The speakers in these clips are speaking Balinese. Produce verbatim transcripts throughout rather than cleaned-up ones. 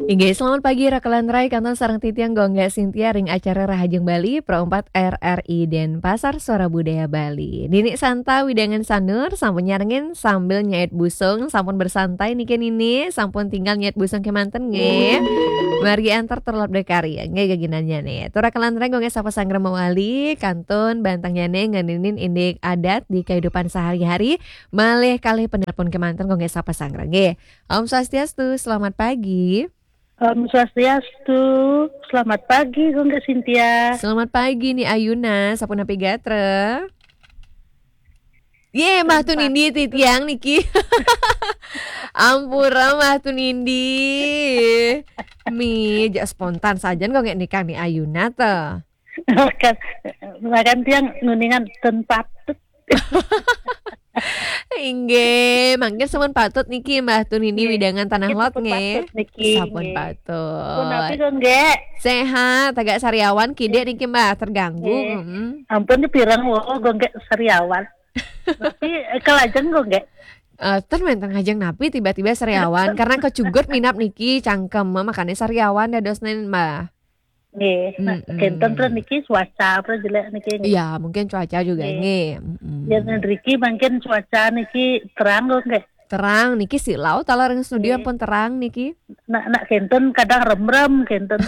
Inggih, selamat pagi Rakelan Rai, kantun sareng titiang Gung Gé Sintia ring acara Rahajeng Bali, Pro empat R R I Denpasar, Suara Budaya Bali. Nini Santa widangan Sanur, sampun nyarengin sambil nyait busung, sampun bersantai niki Nini, sampun tinggal nyait busung kémanten nggih. Margi antar terlebih karya, nggih geginannya nih. Tur Rakelan Rai Gung Gé sapa sanggra mawali, kantun bantengnya nih ngeninin indik adat di kehidupan sehari-hari, malih kalih penelpon kémanten Gung Gé sapa sanggra nggih. Om Swastiastu, selamat pagi. Om Swastiastu, selamat pagi Gung Gé Sintia. Selamat pagi Ni Ayuna, sapunapi gatra? Yé, Mbah Tunindi titiang niki. Ampura Mbah Tunindi. Mi, jak spontan sajan Gung Gé nikah Ni Ayuna to. Makan, makan tiang nguningan ten patut. Inggih, mangkin sampun patut niki Mbah Tunindi widangan Tanah Lot nggih. Sampun patut. Punapi Gung Gé? Sehat, agak sariawan kidik niki Mbah, terganggu. Nggih. Mm-mm. Ampun pirang wo Gung Gé sariawan. Tapi eh, kalajeng Gung Gé? Eh, ten wénten ngajeng napi tiba-tiba sariawan karena kecugut minap niki cangkem makanya sariawan dadosnen Mbah. Nggih, nah, mm-mm, kenten terus niki cuaca apa jelek niki nggih. Iya, mungkin cuaca juga nggih. Nggih. Mm-mm. Ya niki mungkin cuaca niki terang kok nggih. Terang niki silau talar ring studio nggih. Pun terang niki. Nak nak kenten kadang remrem kenten.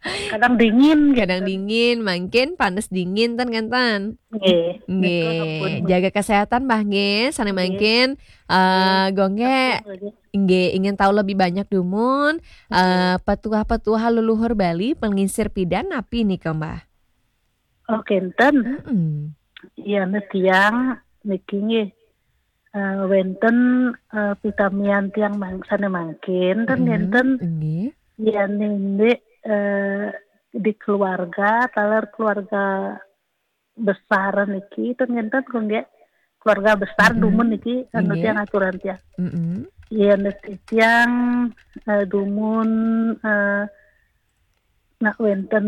Kadang dingin gitu. Kadang dingin, mungkin panas dingin ten kenten. Nggih. Nggih. Nika ampun. Jaga kesehatan Mbah nggih, sané mungkin eh Gung Gé nggih ingin tahu lebih banyak dumun eh petuah-petuah leluhur Bali pengingsir pidan napi nika Mbah? Oh, kenten. Mm-mm. Iya, nah tiang niki nggih eh, wénten eh, pitamian tiang mang, sané mangkin ten mm-mm, ngenten. Nggih. Iya, nindih eh, di keluarga, taler keluarga besar niki ten ngenten Gung Gé. Keluarga besar mm-mm, dumun niki anu nggih. Tiang aturan tiang. Mm-mm. Iya, niki tiang eh, dumun eh, nak wénten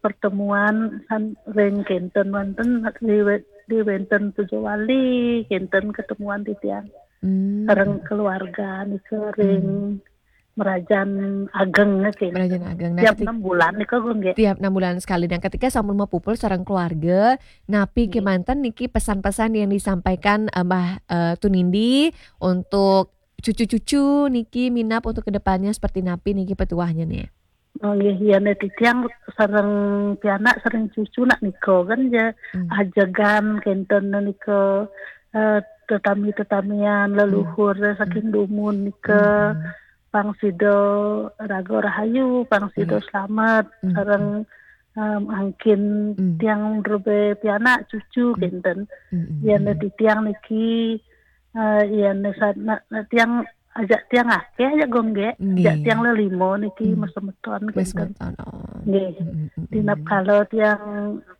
pertemuan kan ring kenten wénten di wé- di wénten Puja Wali kenten ketemuan titiang. Hmm. Sareng keluarga nika ring hmm. Merajan Ageng nggih. Merajan Ageng. Nah, tiap ketik- enam bulan nika Gung Gé. Tiap enam bulan sekali. Nah, ketika sampun mapupul sareng keluarga, napi nggih. Kémanten niki pesan-pesan yang disampaikan eh, Mbah eh, Tunindi untuk cucu-cucu niki minap untuk kedepannya seperti napi niki petuahnya nih? Oh nggih, ya nek titiang sareng pianak sareng cucu nak nika kan ya hmm. Ajegan kenten nika eh, tetami-tetamian leluhur hmm. Saking hmm. Dumun nika hmm. Pang sida raga rahayu, pang sida hmm. Slamet hmm. Sareng um, angkin hmm. Tiang rebe pianak cucu hmm. Kenten hmm. Ya nek titiang niki uh, ya nek tiang ajak tiang akeh ajak Gung Gé. Nggih. Ajak tiang lelima niki hmm. Mesemeton kenten. Mesemeton. Oh. Nggih. Mm-mm. Dinap kala tiang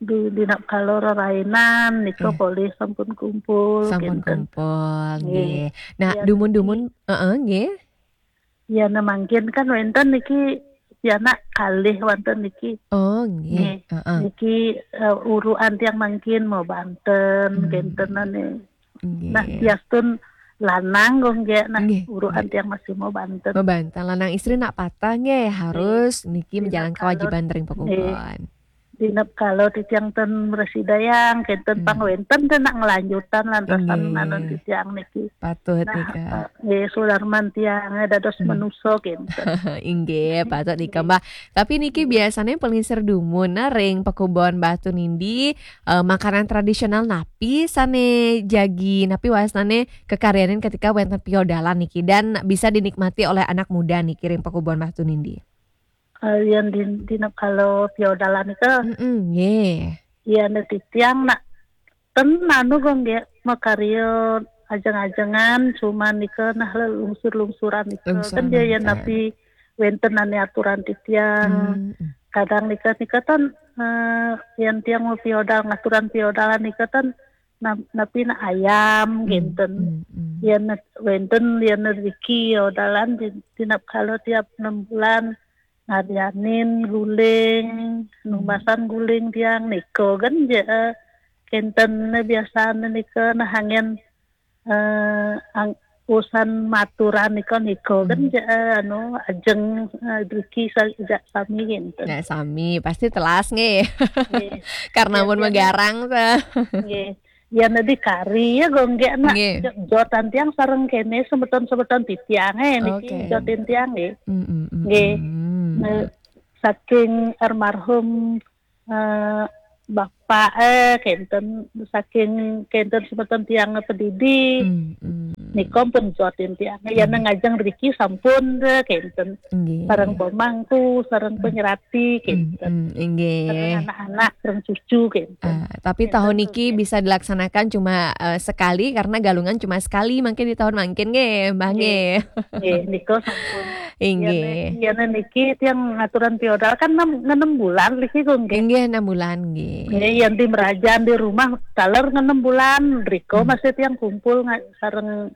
di dinap kala rerainan nika polih sampun kumpul. Sampun kenten. Kumpul. Nggih. Nggih. Nah, ya, dumun-dumun heeh nggih. Ya, nah mangkin kan wénten niki pianak kalih wonten niki. Oh, nggih. Nggih. Heeh. Niki uh, urukan tiang mangkin mau banten, hmm. Kenten ane. Nggih. Nah, biastun lanang kok nggih nah urukan tiang masih mau banten. Mau banten lanang istri nak patah nggih harus niki menjalankan kewajiban ring pekubuhan. Dinep kalau titiang ten mresidayang kenten hmm. Pang wénten ten nak ngelanjutan lantasan nggih. Anu titiang niki. Patut nah, nika. Nggih sudarman tiang dados hmm. Menuso kenten. Inggih, patut nika Mbah. Tapi niki biasanya pengingsir dumun nah ring pekubuhan Mbah Tunindi eh, makanan tradisional napi sane jagi napi wasnane kekaryanin ketika wénten piodalan niki dan bisa dinikmati oleh anak muda niki ring pekubuhan Mbah Tunindi. Uh, yang di, di kalau piodalan itu mm -mm, yeah. Iya nanti tiang nak ten anu Gung Gé makarya ajeng-ajengan cuman nika nah lungsur-lungsuran nika kan dia yang napi wénten ane aturan titiang hmm. Kadang nika nika tan uh, yang tiang mau piodal ngaturan piodalan nika tan napi na ayam hmm. Kenten hmm. Hmm. Yang wénten yang rezeki piodalan di, dinap kalau tiap enam bulan ngarianin guling numasan guling tiang nika kan je kenten biasa nika nah hangen eh, ang, usan maturan nika, nika kan Hmm. ja-, eh, anu, ajeng, eh, driki sa-, ja sami kinten. Nah, sami pasti telas nggih. Nggih. Karena Ya, mun ya. Megarang teh. Nggih. Ya, nadi kari ya, gonggek nak. Nggih. Jo-, jotan tiang sareng kene semeton-semeton titiang, eh, niki Oke. jotin tiang, nggih. Mm, mm, mm, Nggih. mm. Nah, saking almarhum, eh, bapak, eh, kenten, saking kenten semeton tiang pedidi. Mm, mm. Nika pun jotin tiang. Ya, Mm. nang ajeng driki sampun, eh, kenten. Nggih. Sareng pemangku, sareng Mm. penyerati, Mm, kenten. mm, nggih. Sareng anak-anak, sareng cucu, kenten. Ah, tapi Kenten tahun tuh, niki nggih. bisa dilaksanakan cuma, eh, sekali karena galungan cuma sekali mungkin di tahun mangkin nggih, Mbah Nggih. nggih. Nggih, nika sampun. Inggih. Yen, yen niki tiang ngaturan piodal kan enam, enam bulan niki, Gung, nggih. Inggih, enam bulan, nggih. Nggih, yen di merajan di rumah taler enam bulan, riko Hmm. masih tiang kumpul nga-, sareng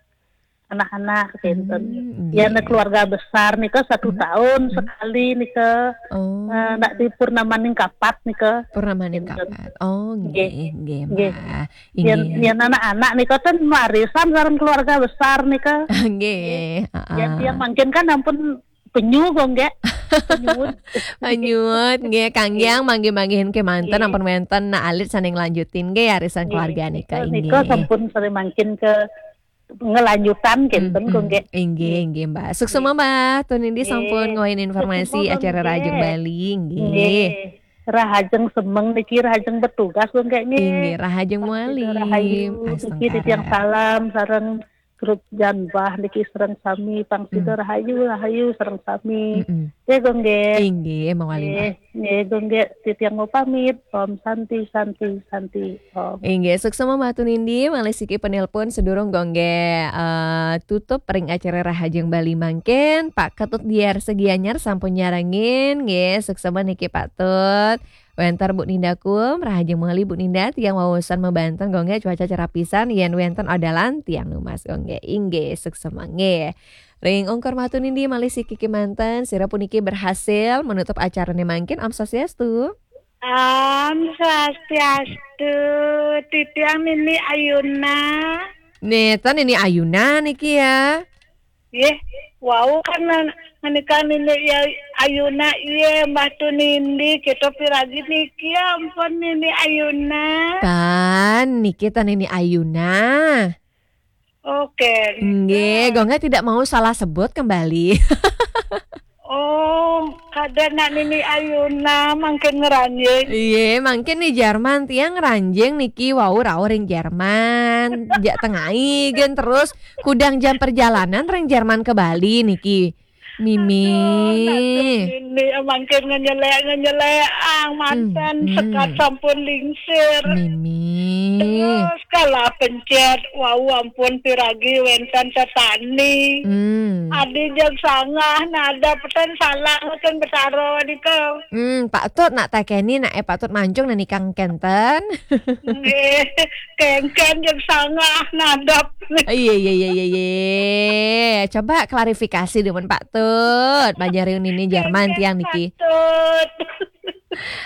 anak-anak, kenten. Hmm, Yen nggih. keluarga besar nika satu Hmm. tahun Hmm. sekali nika, Oh. eh, nak di purnamaning kapat nika. Purnamaning Kenten. kapat. Oh, Nggih. nggih, nggih, Nggih. Mbah. Yen, Inggih. yen anak-anak nika kan warisan sareng keluarga besar nika. Nggih, Nggih. Yen heeh. tiang mangkin kan ampun penyu kok, nggih. Penyuwun. Penyuwun, nggih, kanggiang Nggih. manggih-manggihin kemanten Nggih. ampun wenten nak alit sane nglanjutin nggih arisan Nggih. keluarga nika, Nika, nika inggih. sampun sering mangkin ke ngelanjutan kenten, Mm, kok, mm. nggih. Inggih, Nggih. inggih, Mbah. Suksema, Nggih. Mbah. Tun Nindi Nggih. sampun ngwain informasi Suksema, acara Rahajeng nggih. Bali, nggih. Nggih. Rahajeng semeng niki, rahajeng bertugas, kok, nggih, nggih. Inggih, rahajeng Pang sida muali. rahayu, niki titiang Astungkara. salam sareng grup Janbah niki sareng sami, pang sida Mm. rahayu, rahayu sareng sami. Mm-mm. Nggih, kok, nggih. Inggih, mawali, Mbah. Nggih, nggih, kok, nggih. Titiang mau pamit. Om Santi, Santi, Santi, Om. Inggih, suksema Mbah Tun Indi, malih siki penelpon sedurung kok nggih, eh, tutup ring acara Rahajeng Bali mangkin. Pak Ketut Diar Segianyar sampun nyarengin, nggih, suksema niki Pak Tut. Wenter Bu Ninda Kum, rahajeng muali Bu Ninda, tiang waosan mabanten kok nggih cuaca cerah pisan, yen wenten odalan tiang numas kok nggih. Inggih, suksema nggih. Ring ungkur Mbah Tun Indi malih siki kemanten, sira puniki berhasil menutup acarane mangkin. Om Swastiastu. Om Swastiastu, titiang Nini Ayuna. Neta Nini Ayuna niki ya. Nggih, wau kan nan-, menika Nini ya-, Ayuna, iya, Mbah Tun Indi, kita piragi niki, ampun, Nini Ayuna. Tan, niki ta Nini Ayuna. Oke. Nggih, Nika. Gongga tidak mau salah sebut kembali. Oh, kada nak Nini Ayuna mangkin ngranjing. Iya, mangkin nih Jerman tiang ngranjing niki wau rauh ring Jerman. Jak tengai gen terus kudang jam perjalanan ring Jerman ke Bali niki. Mimi. Aduh, Nini mangkin ngenyelek-ngenyelek ang manten Hmm, hmm. sekat sampun lingsir. Mimi. Terus kalah pencet, wau ampun piragi wenten tetani. Hmm. Adi jeg sangah, nadap ten salah ten betara nika. Hmm, Pak Tut nak tekeni nak eh Pak Tut mancung nak nikang kenten. Nggih, kengken jeg sangah, nadap. Iya, iya, iya, iya, iya. Coba klarifikasi demen Pak Tut. Banjar Nini Jerman Kengken tiang niki. Pak Tut.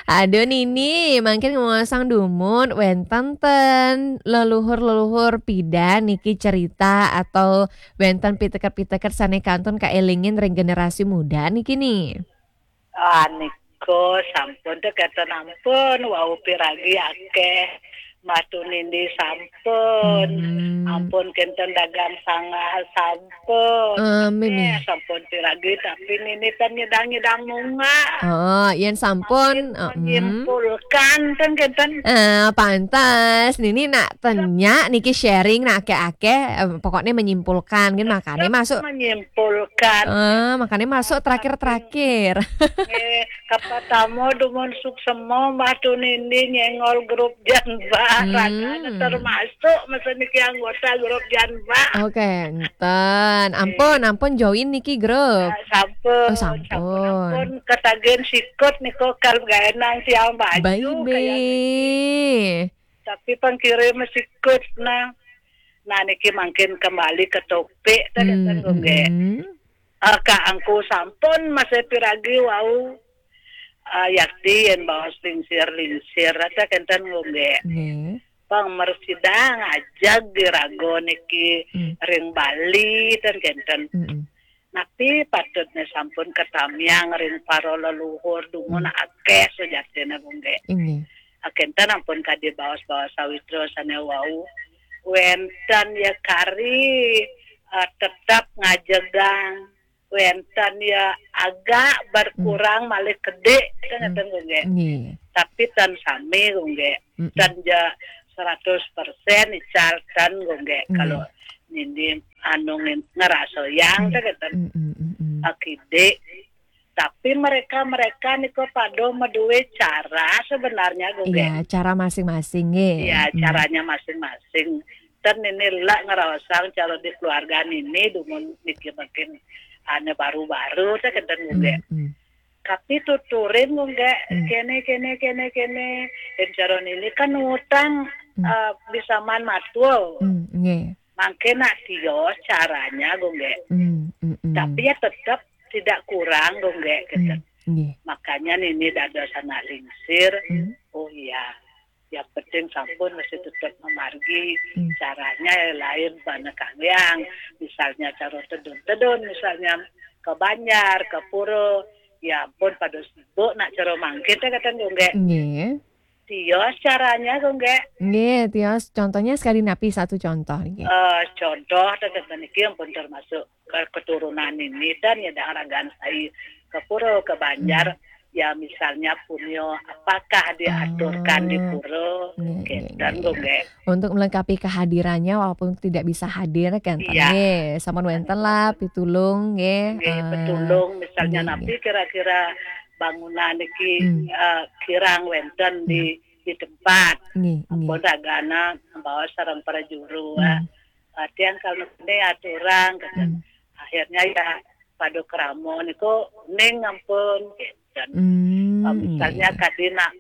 Aduh Nini, mangkin ngomong dumun, wenten ten leluhur-leluhur pidan niki cerita atau wenten piteket-piteket sane kantun kaelingin ring generasi muda niki ni. Ah, niko sampun teh kenten ampun, wau piragi akeh. Mbah Tun Indi sampun. Hmm. Ampun kenten dagang sangah sampun. Eh, Mimi. Eh, sampun piragi tapi Nini ten nyidang-nyidang munga. Oh, yen sampun, Makin eh, hmm. menyimpulkan ten kenten. Eh, pantes. Nini nak tenya niki sharing nak akeh-akeh, eh, pokoknya menyimpulkan kan makane Tetap masuk. menyimpulkan. Eh, makane masuk terakhir-terakhir. Nggih, kapa tamo dumun suksema Mbah Tun Indi nyengol grup Janbah. Hmm. Ragane termasuk masa niki anggota grup Janbah. Oke, enten. Ampun, Nggih. ampun join niki grup. Ah, sampun, Oh, sampun, sampun. ampun. Ketagihan sikut niko kal gaenang tiang baju Baik, kaya niki. Be. Tapi pangkirim sikut nah. Nah, niki mangkin kembali ke topik tadi Hmm, kan, Gung, nggih. hmm. Ah, Kak Angku sampun masih piragi wau. Ah, yakti yen baos lingsir-lingsir, ada kenten, Gung, nggih. Nggih. Bang mresidang ajeg iraga niki Hmm. ring Bali ten kenten. Mm-mm. Napi patutne sampun katamiang ring para leluhur dumun Hmm. akeh sujatine, Gung Gek. Inggih. Ah, kenten ampun kadi baos-baos sawitra sane wau. Wenten ya kari, ah, tetep ngajegang. Wenten ya agak berkurang Hmm. malih kedik, kan Hmm. ngeten, Gung Gek. Nggih. Tapi tan sami, Gung Gek. Mm-mm. Tan ja seratus persen ical tan, Gung Gek. Nggih. Kalau nini anu ngin-, ngerasayang, Hmm. kan ngeten. Mm-mm, mm-mm. Akidik. Tapi mereka-mereka niku pada madue cara sebenarnya, Gung Gek. Iya, cara masing-masing, nggih. Iya, Mm. caranya masing-masing. Ten nini lak ngraosang cara di keluarga nini dumun niki mungkin ane baru-baru, saya kenten, Gung Gek. Mm, mm. Tapi tuturin, Gung Gek, Hmm. kene, kene, kene, kene. Yen cara nini kan ngutang, Hmm. eh, bisa man matul. Hmm, nggih. Mangke nak tios caranya, Gung Gek. Hmm, hmm, hmm. Tapi ya tetap tidak kurang, Gung Gek, gitu. Hmm, nggih. Makanya nini dados anak lingsir. Hmm. Oh iya. Yang penting sampun mesti tetap memargi Hmm. caranya ya lain bana kaliang. Misalnya cara tedun-tedun, misalnya ke banjar, ke pura, ya ampun pada sibuk nak cara mangkin teh kata, Gung Gek. Nggih. Tios caranya, Gung Gek. Nggih, tios. Contohnya sekali napi satu contoh nggih. Eh, contoh teh kata niki ampun termasuk ke-, keturunan nini dan ya dah ragan sai ke pura, ke banjar. Hmm. Ya misalnya punyo apakah diaturkan di Oh. Pura? Nggih, nggih, kenten, nggih. Gung Gek. Untuk melengkapi kehadirannya walaupun tidak bisa hadir kan, Iya. Nggih, sampun wenten lah pitulung nggih. Nggih, eh, pitulung misalnya nggih, napi nggih. Kira-kira bangunan niki, Hmm. eh, kirang wenten di, Hmm. di tempat. Nggih, nggih. Ampun ragana bawa sareng para juru, Hmm. eh, tiang kalau ini aturang, kenten. Hmm. Akhirnya ya pada krama niku ning ampun, kenten. Hmm, eh, misalnya nggih. Kadi nak,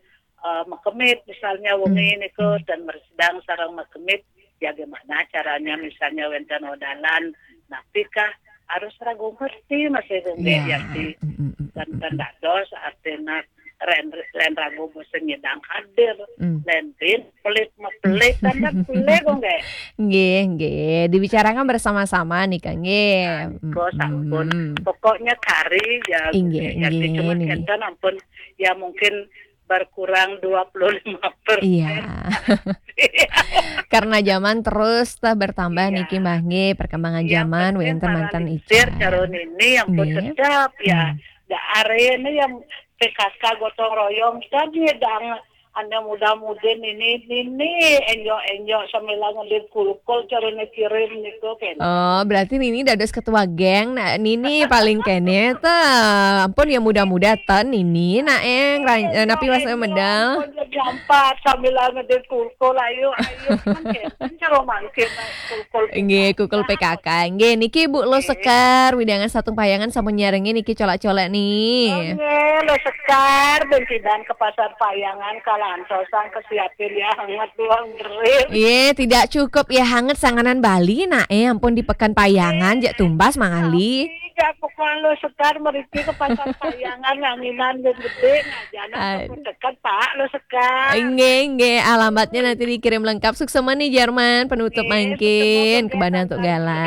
eh, makemit misalnya wengi Hmm, niku hmm. Dan mresidang sareng makemit, ya gimana caranya misalnya wenten odalan, napikah harus ragu ngerti masih Gung Gek. Ya. Ya, ti. Hmm, hmm, hmm, Dan, hmm, dan hmm. Dados artina ren, len ragu bosen nyidang hadir, Hmm. Len bin pelit mepelit, kan, kan pelit, Gung Gek. Nggih, nggih. Dibicarakan bersama-sama nih, Kang, nggih. Nah, niku sampun. Hmm. Pokoknya kari ya, inggih, ya, inggih, cuma niki. Kenten ampun, ya, mungkin berkurang dua puluh lima persen. Iya. Karena zaman terus tah bertambah. Iya. Niki mah nggih, perkembangan. Iya, zaman, penting wenten para manten lingsir, ical. Cara nini yang pun nggih. Tetap ya. Hmm. Da are ini yang P K K gotong royong kan ya dang anda muda-mudi nini, nini enjok-enjok sambil ngedit kulkul cara kirim niku kan. Oh, berarti nini dados ketua geng. Nah, nini paling kene ta. Ampun ya muda-muda ten nini nak eng ran-, eh, napi wasna medal. Ampun, jadi ampat sambil ngedit kulkul, ayo, ayo, kan kenten cara mangkin, kulkul. Nggih, kulkul P K K. Nggih, niki Bu Lo Sekar, wewidangan Satung Payangan sampun nyarengin niki colak-colak nih. Oh, nggih, Lo Sekar, ben sidan ke Pasar Payangan, kalantosan kesiapin ya hangat doang berit. Iya, tidak cukup ya hangat sanganan Bali, nak eh, ampun di Pekan Payangan, jak tumbas mangali. Iya, pokoknya Lo Sekar meriki ke Pasar Payangan, nganginan yang gede, nah, jangan. Aduh. Dekat, Pak, Lo Sekar. Nggih, nggih, alamatnya nanti dikirim lengkap. Suksema nih, Jerman, penutup. Nggih, mangkin, suksema, kebana untuk gala.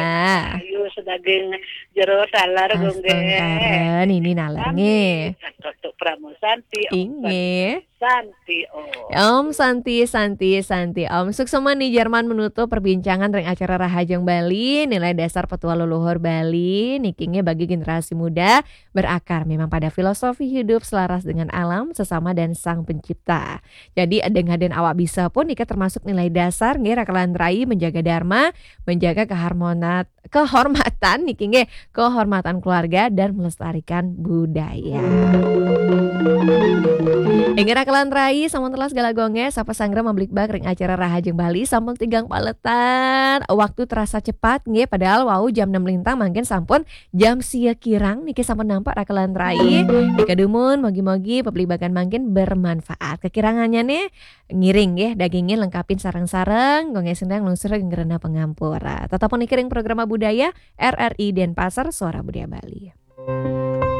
Ayo, sedaging jero taler, astungkara, nggih. Nini naler, nggih. Untuk Pramu Santi, Om. Inggih. Santi, Om. Om Santi, Santi, Santi, Om. Suksema nih, Jerman, menutup perbincangan ring acara Rahajeng Bali, nilai dasar petua leluhur Bali, niki nggih bagi generasi muda, berakar memang pada filosofi hidup selaras dengan alam, sesama dan Sang Pencipta. Jadi, dengan den awak bisa pun nika termasuk nilai dasar nggih, Raka lan Rai, menjaga dharma, menjaga keharmonat-, kehormatan niki nggih, kehormatan keluarga dan melestarikan budaya. Inggih Raka lan Rai, sampun telas gala gonge, sapa sanggra mablikbak ring acara Rahajeng Bali, sampun tigang paletan. Waktu terasa cepat nggih, padahal wau jam enam lintang, mangkin sampun jam sia kirang niki sampun nampak Raka lan Rai. Nika dumun, mogi-mogi peblibakan mangkin bermanfaat. Kekirangannya nih, ngiring nggih, dagingin lengkapin sareng-sareng, gonge sendang lungsur ring rena pangampura. Tetap niki ring programa budaya R R I Denpasar, Suara Budaya Bali.